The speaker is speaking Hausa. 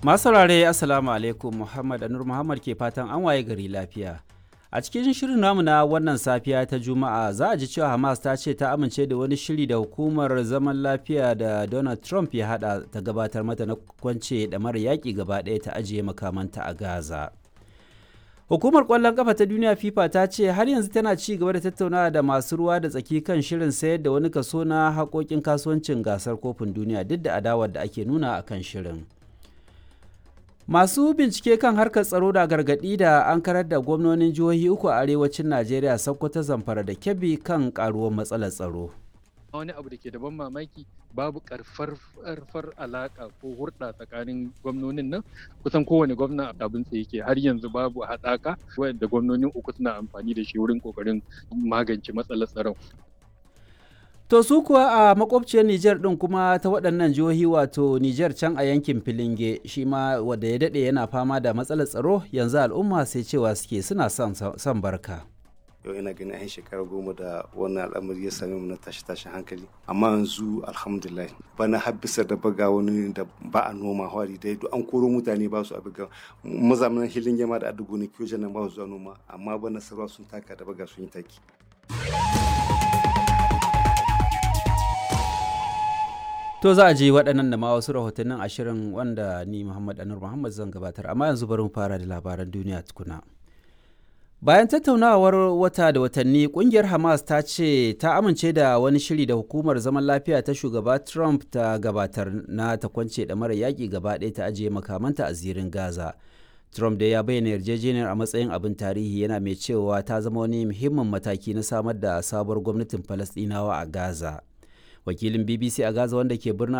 Masu saurare, Assalamu alaikum. Muhammad Anur Muhammad ke fatan an waye gari lafiya. A cikin shirin namu na wannan safiya ta Juma'a, za a ji cewa Hamas ta ce ta amince da wani shiri da hukumar zaman lafiya da Donald Trump ya hada ta gabatar mata na kwance mara yaƙi gaba ɗaya ta ajiye makamanta a Gaza. Hukumar ƙwallon ƙafa ta duniya FIFA ta ce har yanzu tana ci gaba da tattaunawa da masu ruwa da tsaki kan shirin sayar da wani kaso na haƙoƙin kasuwancin gasar kofin duniya, duk da adawar da ake nuna a kan shirin. Masu bincike kan harkar tsaro da gargaɗi da an karar da gwamnonin jihohi uku a arewacin Najeriya, Sokoto, Zamfara da Kebbi, kan karuwar matsalar tsaro. Wani abu da ke da ban mamaki, babu karfar alaka ko hurɗa tsakanin gwamnonin nan. Kusan kowane gwamna abin sa yake, har yanzu babu haɗaka wanda gwamnonin uku suna amfani da shi wurin kokarin magance matsalar tsaron. To su kuwa a makwabciyar Nijar ɗin kuma ta waɗannan jihohi, wato Nijar can a yankin Filinge, shi ma wanda ya daɗe yana fama da matsalar tsaro, yanzu al'umma sai cewa suke suna son barka. Yau ina ganin an shekara 10 da wannan al'amari ya same mu na tashi tashin hankali, amma yanzu alhamdulillah, bana har bisa da baga wani da ba a noma hwari dai duk an koro mutane ba su abiga mazamanin hilin yama da adugo ne kiyo nan ba su zuwa noma, amma bana sarwa sun taka da baga sun yi taki. To za a ji waɗannan da ma wasu rahotannin ashirin wanda ni Muhammad Anur Muhammad zan gabatar, amma yanzu bari mu fara da labaran duniya tukuna. Bayan tattaunawar wata da watanni, kungiyar Hamas ta ce ta amince da wani shiri da hukumar zaman lafiya ta shugaba Trump ta gabatar na ta kwance mara yaƙi gaba ɗaya ta ajiye makamanta a zirin Gaza. Trump da ya bayyana yarjejeniyar a matsayin abin tarihi, yana mai cewa ta zama wani muhimmin mataki na samar da sabuwar gwamnatin Falasɗinawa a Gaza. Wakilin BBC a Gaza wanda ke birnin